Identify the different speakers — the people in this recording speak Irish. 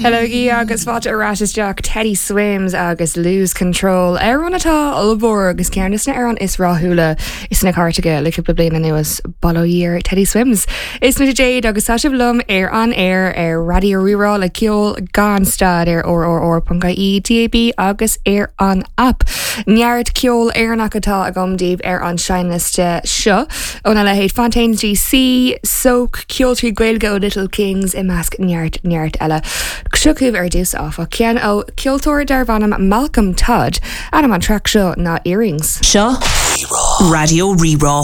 Speaker 1: Hello agus fáilte ar ais isteach Teddy Swims agus Lose Control amhrán atá ollmhór agus ceann de na hamhráin is rathúla sna cairteacha le cúpla bliain anuas bail ó Dhia ar Teddy Swims. Is mise Jade agus tá sibh liom ar an aer ar Raidió Rí-Rá le ceol gan stad ar rrr.ie, DAB agus ar an app. Neart ceol Éireannach atá agam daoibh ar an seinnliosta seo óna leithéid Fontaines DC, Soak, Ceol trí Gaeilge ó Little Kings i measc neart neart eile. Seo chugaibh ar dtús áfach, ceann ó cheoltóir darb ainm Malcolm Todd. Ainm an traic seo ná Earrings.
Speaker 2: Seo Raidió Rí-Rá.